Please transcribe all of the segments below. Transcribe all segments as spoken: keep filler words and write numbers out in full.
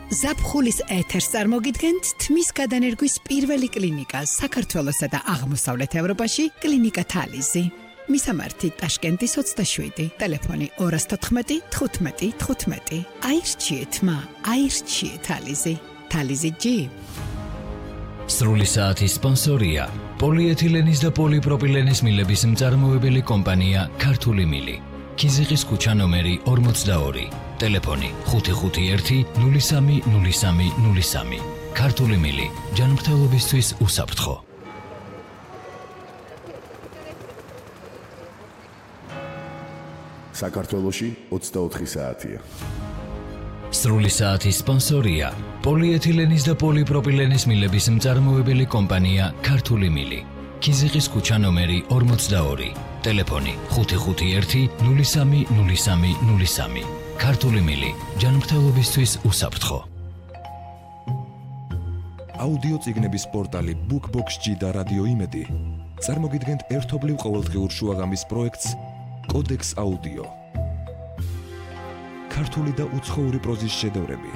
ზაფხულის ეთერს წარმოგიდგენთ თმის გადანერგვის პირველი კლინიკა საქართველოსა და აღმოსავლეთ ევროპაში კლინიკა თალიზი. მისამართი ტაშკენტის ოცდაშვიდი, ტელეფონი ორას თოთხმეტი თხუთმეტი თხუთმეტი. აირჩიეთ მა, აირჩიეთ თალიზი. თალიზი ჯი. სრული საათის სპონსორია პოლიეთილენის და პოლიპროპილენის მილების მწარმოებელი კომპანია ქართული მილი. ქიზიყის ქუჩა ნომერი ორმოცდაორი. ტელეფონი ხუთი ხუთი ერთი ნული სამი ნული სამი ნული სამი. ქართული მილი ჯანმრთელობისთვის უსაფრთხო. საქართველოში ოცდაოთხი საათია. სრული საათის სპონსორია პოლიეთილენის და პოლიპროპილენის მილების მწარმოებელი კომპანია ქართული მილი. ქიზიყის ქუჩა ნომერი ორმოცდაორი. ტელეფონი ხუთი ხუთი ერთი ნული სამი ნული სამი ნული სამი. ქართული მილი ჯანმრთელობისთვის უსაფრთხო. აუდიო წიგნების პორტალი BookBox-G და რადიო იმედი წარმოგიდგენთ ერთობლივ ყოველდღიურ შუაღამის პროექტს კოდექს აუდიო. ქართული და უცხოური პროზის შედევრები,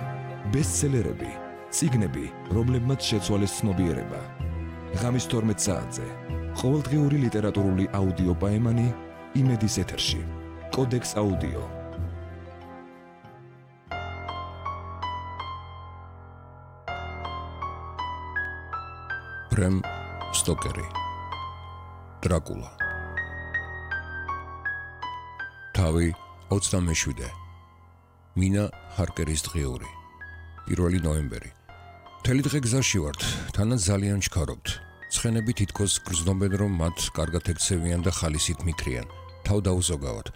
ბესტსელერები, წიგნები, რომლებმაც შეცვალეს ცნობიერება. ღამის თორმეტ საათზე ყოველდღიური ლიტერატურული აუდიო პაემანი იმედის ეთერში. კოდექს აუდიო. ბრემ სტოკერი. დრაკულა. თავი ოცდამეშვიდე. მინა ჰარკერის დღიური. პირველი ნოემბერი. მთელი დღე გზაში ვართ, თანაც ძალიან ჩქარობთ. ცხენები თითქოს გრძნობენ, რომ მათ კარგად ექცევიან და ხალისით მიქრიან. თავ დაუზოგავად.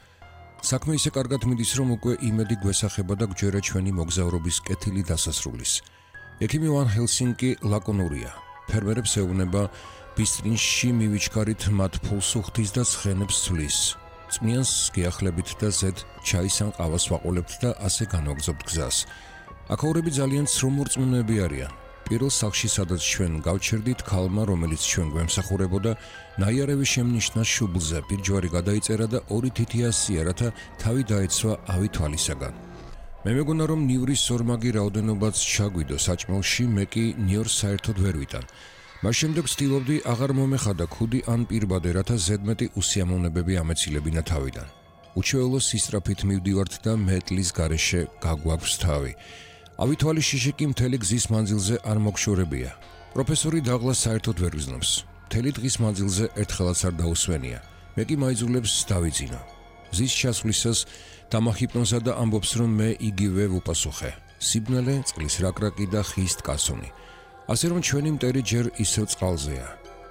საქმე ისე კარგად მიდის, რომ უკვე იმედი გვესახება და გვჯერა ჩვენი მოგზაურობის კეთილი დასასრულის. ექიმი ვან ჰელსინკი ლაკონურია. ფერმერებს ეუბნება ბისტრინში მივიჩქარით მათ ფულს უხდის და ცხენებს ცვლის. წმიანს გიახლებით და ზედ ჩაის ან ყავას ვაყოლებთ და ასე განვაგრძობთ გზას. აქაურები ძალიან ცრომორწმუნეები არიან. პირველ სახლში, სადაც ჩვენ გავჩერდით, ქალმა, რომელიც ჩვენ გვემსახურებოდა, ნაიარევი შემნიშნა შუბლზე, პირჯვარი გადაიწერა და ორი თითი ასია, რათა თავი დაეცვა ავი თვალისაგან. მე მეგონა, რომ ნივრის ორმაგი რაოდენობაც ჩაგვიდო საჭმელში, მე კი ნიორს საერთოდ ვერ ვიტან. მას შემდეგ ვცდილობდი აღარ მომეხადა ქუდი ან პირბადე, რათა ზედმეტი უსიამოვნებები ამეცილებინა თავიდან. უჩვეულო სისწრაფით მივდივართ და მეტლის გარეშე გაგვაქვს თავი. ავი თვალის შიში კი მთელი გზის მანძილზე არ მოგშორებია. პროფესორი დაღლას საერთოდ ვერ ვიზნობს. მთელი დღის მანძილზე ერთხელაც არ დაუსვენია. მე კი მაიძულებს დავიძინო. გზის ჩასვლისას დამახიპნოზა და ამბობს, რომ მე იგივე ვუპასუხე. სიბნელე, წყლის რაკრაკი და ხის ткаსონი. ასე რომ ჩვენი მტერი ჯერ ისევ წყალზეა.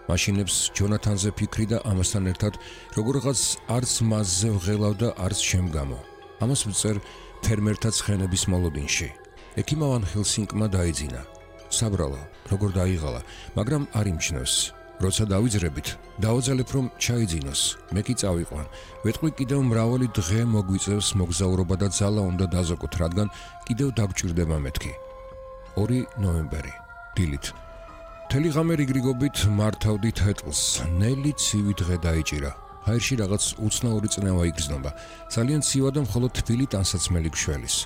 მაშინებს ჯონათანზე ფიქრი და ამასთან ერთად როგორღაც არც მასზე ვღელავ და არც შემგამო. ამას ვწერ ფერმერთა ცხენების მოლოდინში. ექიმა ვან ჰელსინკმა დაიძინა. საბრალო, როგორ დაიღალა, მაგრამ არ იმჩნევს. როცა დავიძრებით, დავაძალებ, რომ ჩაიძინოს. მე კი წავიყვან. ვეთყვი კიდევ მრავალი დღე მოგვიწევს მოგზაურობა და ძალა უნდა დაზოგოთ, რადგან კიდევ დაგჭირდება მეთქი. ორი ნოემბერი. დილით. მთელი ღამე რიგრიგობით მართავდი თეთრს. ნელი ცივი დღე დაიჭირა. ჰაერში რაღაც უცნაური წნევა იგრძნობა. ძალიან ცივა და მხოლოდ თბილი ტანსაცმელი გშველის.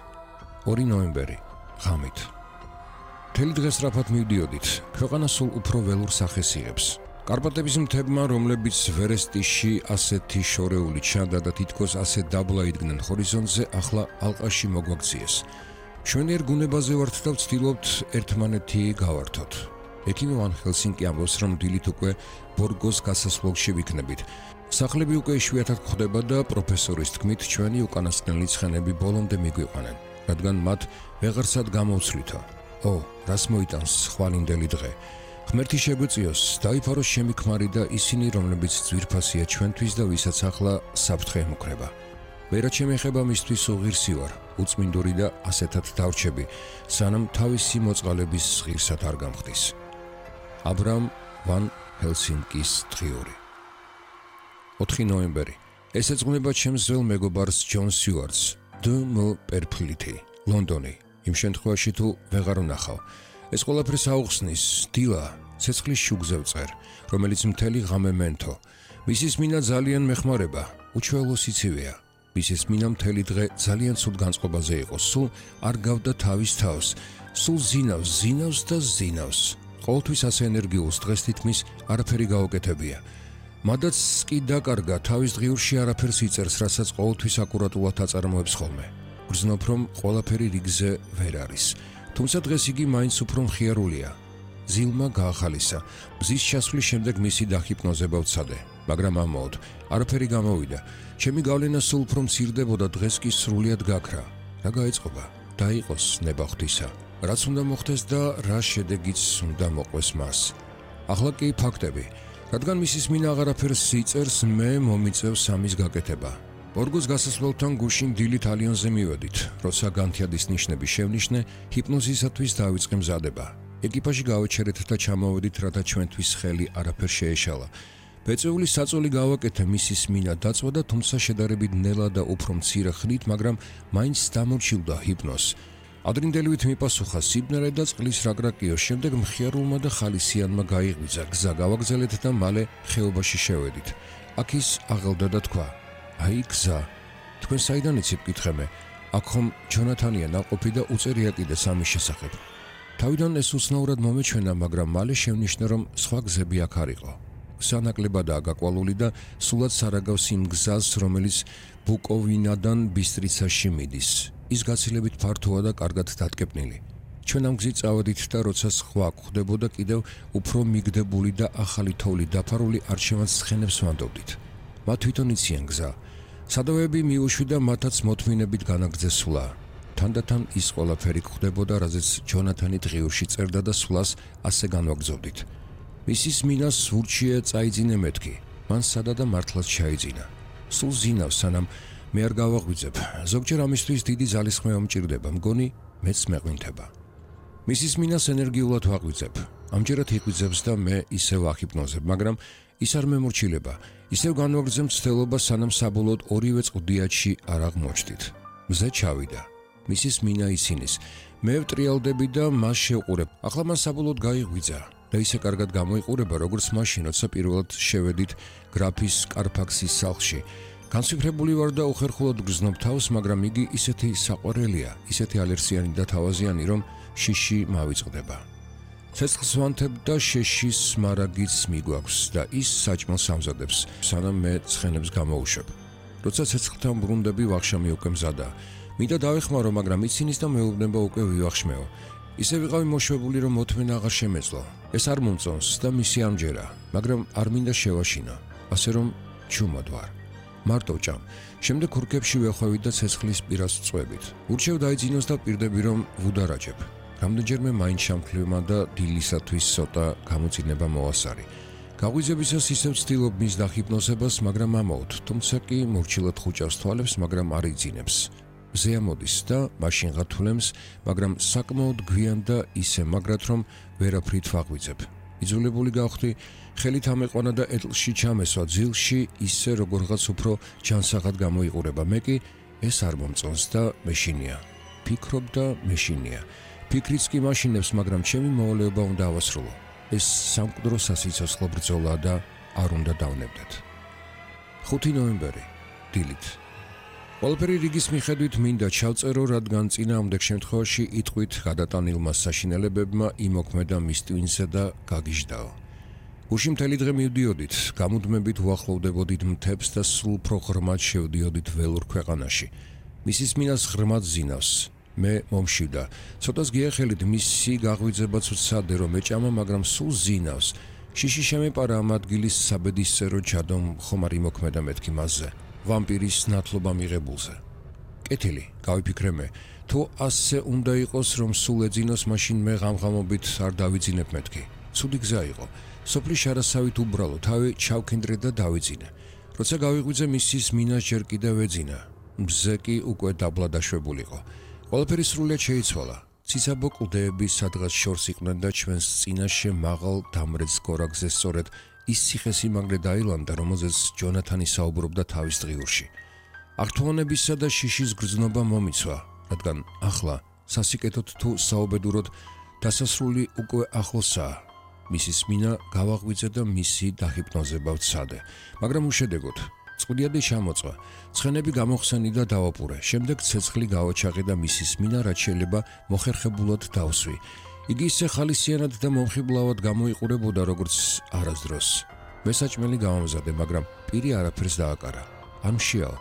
ორი ნოემბერი. ღამით. მთელი დღე სწრაფად მივდიოდით. ქვეყანა სულ უფრო ველურ სახეს იღებს. კარპატების მთებმა, რომლებიც ვერესტიში ასეთი შორეული ჩანდა და თითქოს ასე დაბლა იდგნენ ჰორიზონტზე, ახლა ალყაში მოგვაქციეს. ჩვენიერ გუნებაზე ვართ და ვცდილობთ ერთმანეთი გავართოთ. ექიმი ვან ჰელსინკი ამბობს, რომ დილით უკვე ბორგოს გასასვლელში ვიქნებით. სახლები უკვე იშვიათად გვხვდება და პროფესორის თქმით, ჩვენი უკანასკნელი ცხენები ბოლომდე მიგვიყვანენ, რადგან მათ ვეღარსად გამოვცვლითო. ო, რას მოიტანს ხვალინდელი დღე. ღმერთი შეგვეწიოს, დაიფაროს ჩემი ქმარი და ისინი, რომლებიც ძვირფასია ჩვენთვის და ვისაც ახლა საფრთხე ემუქრება. ვერა შემეხება მისთვის უღირსი ვარ, უწმინდური და ასეთად დავრჩები, სანამ თავისი მოწყალების ღირსად არ გამხდის. აბრამ ვან ჰელსინკის დღიური. ოთხი ნოემბერი. ეს ეძღვნება ჩემს ძველ მეგობარს ჯონ სიუარტს, დ მ პერფლითი, ლონდონი. იმ შემთხვევაში თუ ვეღარ ვნახავ. ეს ყველაფერს აუხსნის დილა, ცეცხლის შუგზე ვწერ, რომელიც მთელი ღამე მენთო. მისის მინა ძალიან მეხმარება, უჩვეულო სიცივეა. მისის მინა მთელი დღე ძალიან ცუდ განწყობაზე იყო, სულ არ გავდა თავის თავს. სულ ზინავს, ზინავს და ზინავს. ყოველთვის ასე ენერგიულს დღეს თითქმის არაფერი გაუკეთებია. მადაც კი დაკარგა, თავის ღიურში არაფერს იწერს, რასაც ყოველთვის აკურატულად აწარმოებს ხოლმე. გრძნობ, რომ ყველაფერი რიგზე ვერ არის. თუმცა დღეს იგი მაინც უფრო მხიარულია. ზილმა გაახალისა. მზის ჩასვლის შემდეგ მისი დახიპნოზება ვცადე, მაგრამ ამაოდ არაფერი გამოვიდა. ჩემი გავლენა სულ უფრო მცირდებოდა, დღეს კი სრულიად გაქრა. რა გაეწყობა? დაიყოს ნება ღვთისა. რაც უნდა მოხდეს და რა შედეგიც უნდა მოყვეს მას. ახლა კი ფაქტები. რადგან მისის მინა აღარაფერს იწერს, მე მომიწევს ამის გაკეთება. ორგოს გასასვლელთან გუშინ დილით ალიონზე მივედით, როცა განთიადის ნიშნები შევნიშნე, ჰიპნოზისათვის დავიწყე მზადება. ეკიპაჟი გავეჩერეთ და ჩამოვედით, რათა ჩვენთვის ხელი არაფერ შეეშალა. ბეწეული საწოლი გავაკეთე მისის მინა დაწვა, თუმცა შედარებით ნელა და უფრო მცირე ხნით, მაგრამ მაინც დამორჩილდა ჰიპნოზს. ადრინდელივით მიპასუხა სიბნელე და წყლის რაკრაკიო, შემდეგ მხიარულმა და ხალისიანმა გაიღვიძა, გზა გავაგზავნეთ და მალე ხეობაში შევედით. აქ ის აღელდა და თქვა: "აი გზა, თქვენ საიდან იცით კითხემე? აქ ხომ ჯონათანია ნაყოფი და უწერია კიდე სამის შესახებ." თავიდან ეს უცნაურად მომეჩვენა, მაგრამ მალე შევნიშნე, რომ სხვა გზები აქ არ იყო. გზა ნაკლებადაა გაკვალული და სულაც სარაგავს იმ გზას, რომელიც ბუკოვინადან ბისტრიცაში მიდის. ის გაცილებით ფართოა და კარგად დატკეპნილი. ჩვენ ამ გზით წავედით და როცა სხვა გვხვდებოდა, კიდევ უფრო მიგდებული და ახალი თოვლი დაფარული არჩევანს ცხენებს ვანდობდით. მათ თვითონ იციან გზა. სადავეები მიუშვიდა, მათაც მოთმინებით განაგრძეს სვლა. თანდათან ის ყველაფერი გვხვდებოდა, რაზეც ჯონათანი ღიურში წერდა და სვლას ასე განვაგრძობდით. მისის მინას სურჩია წაიძინე მეთქი. მან სადა და მართლაც ჩაიძინა. სულ ზინავს, სანამ მე არ გავაღვიძებ. ზოგჯერ ამისთვის დიდი ძალისხმევა მჭირდება, მგონი მეც მეყვინთება. მისის მინას ენერგიულად ვაღვიძებ. ამჯერად იღვიძებს და მე ისევ ახიპნოზებ, მაგრამ ის არ მემორჩილება. ისევ განვაგრძებ მცდელობა, სანამ საბოლოოდ ორივე წყდიათში არ აღმოჩნდით. მზე ჩავიდა. მისის მინა ისინის. მე ვტრიალდები და მას შევყურებ. ახლა მან საბოლოოდ გაიღვიძა და ისე კარგად გამოიყურება, როგორც მაშინ, როცა პირველად შევედით გრაფის კარფაქსის სახლში. განსვიფრებული ვარ და უხერხულად გრძნობ თავს, მაგრამ იგი ისეთი საყვარელია, ისეთი ალერსიანი და თავაზიანი, რომ შიში მავიწყდება. ცეცხლს ვანთებ და შეშის მარაგიც მიგვაქვს და ის საჭმელს ამზადებს, სანამ მე ცხენებს გამოუშვებ. როცა ცეცხლთან ბრუნდები, ვახშამი უკვე მზადაა. მინდა დავეხმარო, მაგრამ იცინის და მეუბნება უკვე ვივახშმეო. ისე ვიყავი მოშვებული, რომ მოთმენა აღარ შემეძლო. ეს არ მომწონს და მისი ამჯერა, მაგრამ არ მინდა შევაშინო, ასე რომ ჩუმად ვარ. მარტო ჭამ. შემდეგ ქურქებში ვეხვევით და ცეცხლის პირას წვევით. ურჩევ დაიძინოს და პირდები, რომ ვუდარაჯებ. რამდენჯერმე მაინც შამქლიმა და დილისათვის ცოტა გამოწინება მოასარი. გაღვიძებისას ისევ ვცდილობ მის დახიპნოზებას, მაგრამ ამაოდ, თუმცა კი მორჩილად ხუჭავს თვალებს, მაგრამ არ იძინებს. მზე ამოდის და მაშინ ღათულებს, მაგრამ საკმაოდ გვიან და ისე მაგრად, რომ ვერაფრით ვაღვიძებ. იძულებული გავხდი, ხელით ამეყვანა და ეტლში ჩამესვა, ძილში ისე როგორღაც უფრო ჯანსაღად გამოიყურება. მე კი ეს არ მომწონს და მეშინია. ფიქრობ და მეშინია. ფიქრიც კი მაშინებს, მაგრამ ჩემი მოვალეობა უნდა ავასრულო. ეს სამკვდრო სასიცოცხლო ბრძოლა და არ უნდა დავნებდეთ. ხუთი ნოემბერი, დილით. ყველაფერი რიგის მიხედვით მინდა ჩავწერო, რადგან წინააღმდეგ შემთხვევაში იტყვით გადატანილმა საშინელებებმა იმოქმედა მის ტვინზე და გაგიჟდაო. გუშინ მთელი დღე მივდიოდით, გამუდმებით უახლოვდებოდით მთებს და სულ უფრო ღრმად შევდიოდით ველურ ქვეყანაში. მისის მინას ღრმად ზინავს. მე მომშვიდა. ცოტას გიახელით, მისი გაღვიძებაც ვცადე, რომ ეჭამა, მაგრამ სულ ზინავს. შიში შემეპარა ამ ადგილის საბედისწერო ჯადომ ხომ არ იმოქმედა მეთქი მასზე. ვამპირის ნათლობა მიღებულზე. კეთილი, გავიფიქრე მე, თუ ასე უნდა იყოს, რომ სულ ეძინოს, მაშინ მე ღამღამობით არ დავიძინებ მეთქი. ცუდი გზა იყო. სოფლის შარასავით უბრალო, თავი ჩავქინდრე და დავიძინე. როცა გავიღვიძე, მისის მინას ჯერ კიდევ ეძინა. მზე კი უკვე დაბლა დაშვებულიყო. ყველაფერი სრულიად შეიცვალა. ციცაბო კლდეები სადღაც შორს იყვნენ და ჩვენს წინაშე მაღალ დამრეც გორაკზე სწორედ ის ციხესიმაგრე დაილანდა, რომელზეც ჯონათანი საუბრობდა თავის დღიურში. ართუანებისა და შიშის გრძნობა მომიცვა, რადგან ახლა სასიკეთოდ თუ საუბედუროდ დასასრული უკვე ახლოსაა. მისის მინა გავაღვიძე და მისი დահიპნოზება ვცადე, მაგრამ უშედეგოდ. წყვდიადი ჩამოწვა. ცხენები გამოხსენი და დავაპურე. შემდეგ ცეცხლი გავაჩაღე და მისის მინა რაც შეიძლება მოხერხებულად დავსვი. იგი ისე ხალისიანად და მომხიბლავად გამოიყურებოდა როგორც არასდროს. მესაჭმელი გამომზადე, მაგრამ პირი არაფერს დააკარა. არ მშიაო.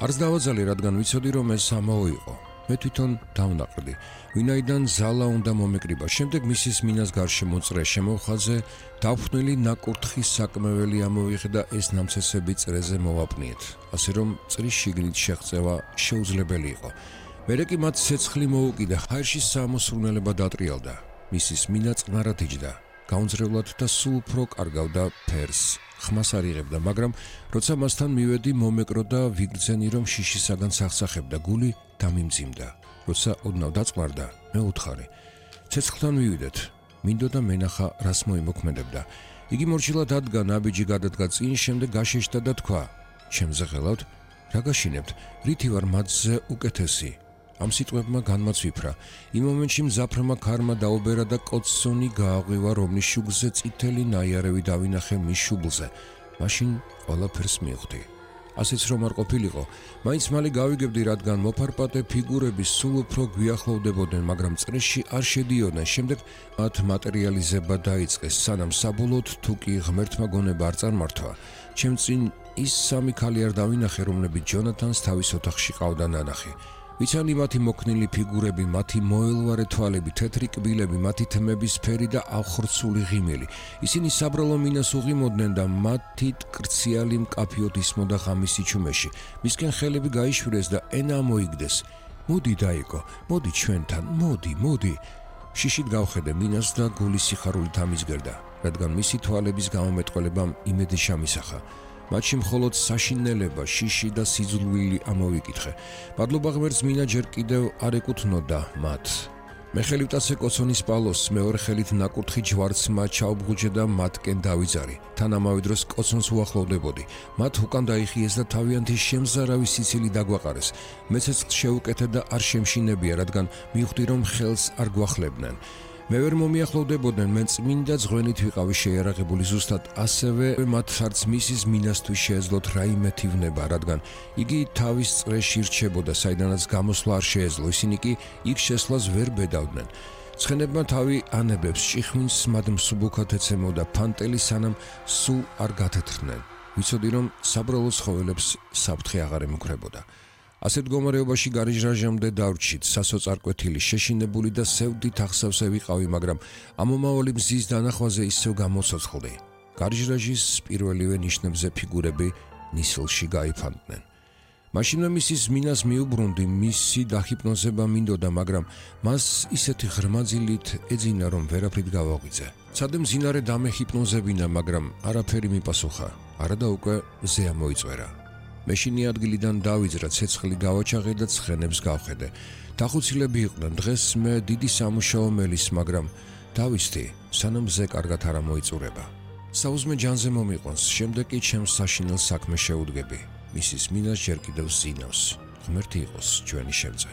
არც დავაძალე, რადგან ვიცოდი რომ ეს ამაო იყო. მე თვითონ დავნაყრდი. ვინაიდან ზალა უნდა მომეკრიბა. შემდეგ მისის მინას გარშე მოწრე შემოხაზე დაფნილი ნაკურთხის საკმეველი ამოვიღე და ეს ნამცესები წრეზე მოვაპნიეთ. ასე რომ წრის შიგნით შეღწევა შეუძლებელი იყო. მერე კი მათ ცეცხლი მოუკიდა, ჰაერში სამოსრულნელება დატრიალდა. მისის მინა წყნარად იჯდა. გაუნձრევლად და სულ უფრო კარგავდა ფერს. ხმას არ იღებდა, მაგრამ როცა მასთან მივედი, მომეკრო და ვიგრძენი რომ შიშისაგან სახსახებდა, გული დამიმძიმდა. როცა ოდნავ დაწყმარდა, მე უთხარი. ცეცხლთან მივიდეთ. მინდოდა მენახა რას მოიმოქმედებდა. იგი მორჩილად ადგა, ნაბიჯი გადადგა წინ, შემდეგ გაშეშდა და თქვა: ჩემზე ღელავთ? რა გაშინებთ? რითი ვარ მათზე უკეთესი? ამ სიტყვებმა განმაცვიფრა. იმ მომენტში მზაფრმა ქარმა დაუბერა და კოცონი გააღვივა, რომლის შუგზე წითელი ნაიარევი დავინახე მის შუბლზე. მაშინ ყველაფერს მივხვდი. ასეც რომ არ ყოფილიყო, მაინც მალე გავიგებდი, რადგან მოფარპატე ფიგურები სულ უფრო გვიახლოვდებოდნენ, მაგრამ წრეში არ შედიოდნენ. შემდეგ მათ მატერიალიზება დაიწყეს, სანამ საბოლოოდ თუ კი ღმერთმა გონება არ წარმართვა, ჩემ წინ ის სამი ქალი არ დავინახე, რომლებიც ჯონათანს თავის ოთახში ყავდა ნანახი. ვიცანი მათი მოქნილი ფიგურები, მათი მოელვარე თვალები, თეთრი კბილები, მათი თმების ფერი და აღხრცული ღიმილი. ისინი საბრალო მინას უღიმოდნენ და მათი კრციალი მკაფიოდ ისმოდა ღამის სიჩუმეში. მისკენ ხელები გაიშვირეს და ენა მოიგდეს. მოდი დაიკო, მოდი ჩვენთან, მოდი, მოდი. შიშით გავხედე მინას და გული სიხარულით ამიზგერდა, რადგან მისი თვალების გამომეტყველებამ იმედი შემისახა. მათში მხოლოდ საშინელება, შიში და სიძულვილი ამოვიკითხე. მადლობა ღმერთს, მინა ჯერ კიდევ არ ეკუთვნოდა მათ. მე ხელი ვტაცე კოცონის პალოს, მეორე ხელით ნაკურთხი ჯვარცმა ჩაუბღუჯე და მათკენ დავიძარი. თან ამავე დროს კოცონს უახლოვდებოდი. მათ უკან დაიხიეს და თავიანთი შემზარავი სიცილი დაგვაყარეს. მე ცეცხლს შეუკეთე და არ შემშინებია, რადგან მივხვდი რომ ხელს არ გვახლებდნენ. მე ვერ მომიახლოვდებოდნენ, მე წმინდა ძღვენით ვიყავი შეიარაღებული, ზუსტად ასევე მათ არც მისის მინასთვის შეეძლოთ რაიმე თივნება, რადგან იგი თავის წრეში რჩებოდა, საიდანაც გამოსვლა არ შეეძლო, ისინი კი იქ შესვლას ვერ ბედავდნენ. ცხენებმა თავი ანებებს ჭიხვინს მათ მსუბუქად ეცემოდა ფანტელი, სანამ სულ არ გათეთრდნენ. ვიცოდი რომ საბრალო ცხოველებს საფრთხე აღარ ემუქრებოდა. ასეთ მდგომარეობაში გარიჟრაჟამდე დავრჩით, სასოწარკვეთილი, შეშინებული და სევდით ახსავსე ვიყავი, მაგრამ ამომავალი მზის დანახვაზე ისევ გამოცოცხლდი. გარიჟრაჟის პირველივე ნიშნებზე ფიგურები ნისლში გაიფანტნენ. მაშინვე მისის მინას მიუბრუნდი, მისი დახიპნოზება მინდოდა, მაგრამ მას ისეთი ღრმაძილით ეძინა, რომ ვერაფრით გავაღვიძე. ცადე მძინარე დამეხიპნოზებინა, მაგრამ არაფერი მიპასუხა, არადა უკვე მზე ამოიწვერა. მეშინი ადგილიდან დავიძრა, ცეცხლი გავაჩაღე და ცხენებს გავხედე. დახუცილები იყვნენ, დღეს მე დიდი სამუშაო მელის, მაგრამ დავისდი, სანამ მზე კარგად არ ამოიწურება. საუზმე ჯანზე მომიყვანს, შემდეგ კი ჩემს საშინელ საქმეს შეუდგები. მისის მინას ჯერ კიდევ ზინავს. ღმერთი იყოს ჩვენი შემწე.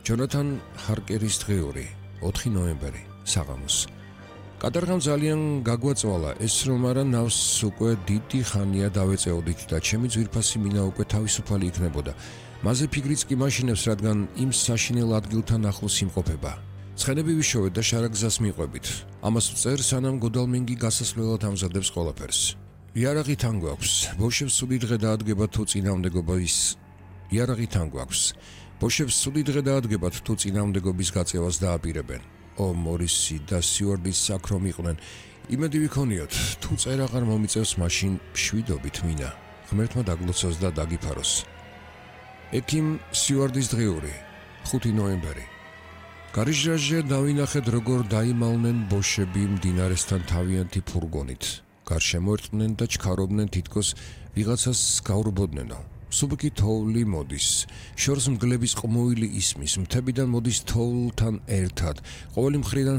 ჯონათან ჰარკერის დღიური, ოთხი ნოემბერი, საღამოს. კადარღამ ძალიან გაგვაწვალა ეს, რომ არა ნავს უკვე დიდი ხანია დავეწეოდით და ჩემი ძვირფასი მინა უკვე თავისუფალი იქნებოდა. მასზე ფიგრიც კი მაშინებს, რადგან იმ საშინელ ადგილთან ახლოს იმყოფება. ცხენები ვიშოვეთ და შარაგზას მიყვებით. ამას ვწერ, სანამ გოდალმინგი გასასვლელად ამზადებს ყველაფერს. იარაღი თან გვაქვს. ბოშებს სუდი დღე დაადგებათ თუ წინააღმდეგობის იარაღი თან გვაქვს. ბოშებს სუდი დღე დაადგებათ თუ წინააღმდეგობის გაწევას დააპირებენ. ო მორისი და სიუარდის საქრომ იყვნენ. იმედი ვიქონიოთ, თუ წერ აღარ მომიწევს, მაშინ მშვიდობით მინა. ღმერთმა დაგლოცოს და დაგიფაროს. ექიმ სიუარდის დღიური, ხუთი ნოემბერი. გარიჟრაჟზე დავინახეთ, როგორ დაიმალნენ ბოშები მდინარესთან თავიანთი ფურგონით. გარშემო ერტყნენ და ჩქარობდნენ, თითქოს ვიღაცას გაურბოდნენო. სუბკი თოვლი მოდის, შორს მგლების ყმუილი ისმის, მთებიდან მოდის თოვლთან ერთად, ყოველი მხრიდან